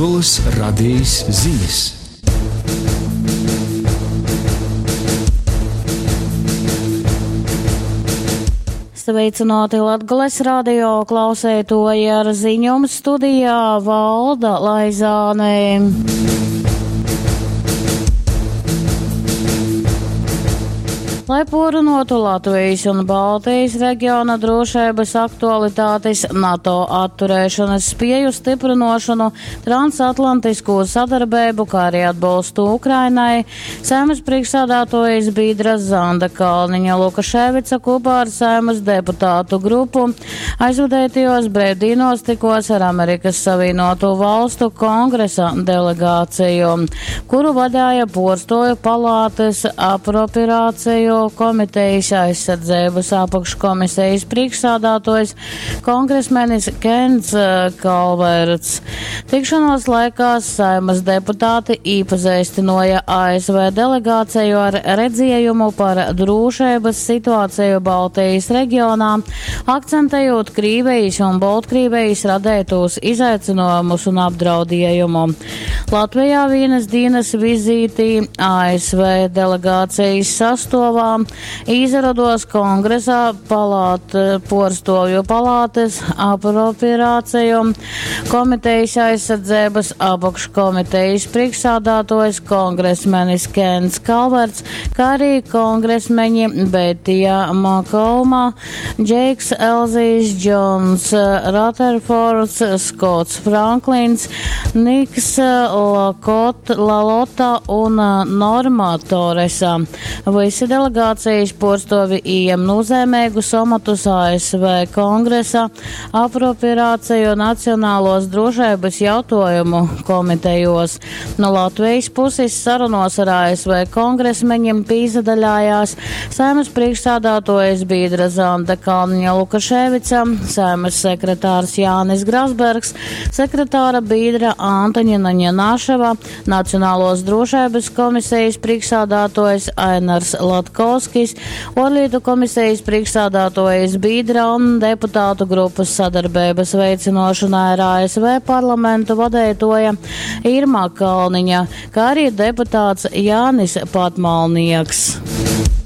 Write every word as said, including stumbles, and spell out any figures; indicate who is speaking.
Speaker 1: Latgolys Radejis zinis.
Speaker 2: Sveicināti Latgales radio klauseitoji ar ziņom studijā Valda Laizāne. Lai porunotu Latvijas un Baltijas reģiona drošības aktualitātes, NATO atturēšanas spēju stiprinošanu, transatlantisko sadarbību, kā arī atbalstu Ukrainai, Saeimas priekšsādātojas Bīdra Zanda Kalniņa Lukaševica kopā ar Saeimas deputātu grupu aizvadētajos brīvdienos tikos ar Amerikas Savienoto Valstu kongresa delegāciju, kuru vadīja porstoju palātes apropriāciju komitejas aizsardzības apakškomisijas priekšsādātojs kongresmenis Kens Kalverts. Tikšanos laikā Saeimas deputāti īpazīstināja A S V delegāciju ar redzējumu par drošības situāciju Baltijas reģionā, akcentējot Krīvijas un Baltkrievijas radētos izaicinājumus un apdraudējumu. Latvijā vienas dienas vizītī A S V delegācijas sastāvā izrados kongresā palāt, porstovju palātes apropriāciju komitejas aizsardzības apakškomitejas priekšsādātojs kongresmenis Kens Kalverts, kā arī kongresmeņi Betija Makolma, Džeiks Elzijs, Džons Rutherfords, Skots Franklins, Niks Lakot, Lalota un Norma Toresa. Visi delegācijas porstovi ieņem nozīmīgus amatus A S V kongresa apropriāciju Nacionālos drošības jautājumu komitejos. No Latvijas puses sarunos ar A S V kongresmeņiem pīzadaļājās Saeimas priekšsādātojas Bīdra Zanda Kalniņa Lukaševica, Saeimas sekretārs Jānis Grasbergs, sekretāra Bīdra Antoņina Ņanaševa, Nacionālos drošības komisijas priekšsādātojas Ainars Latkovskis, Orlietu komisijas priekšsādātojas Bīdra un deputātu grupas sadarbības veicinošanā ar A S V parlamentu vadētoja Irma Kalniņa, kā arī deputāts Jānis Patmalnieks.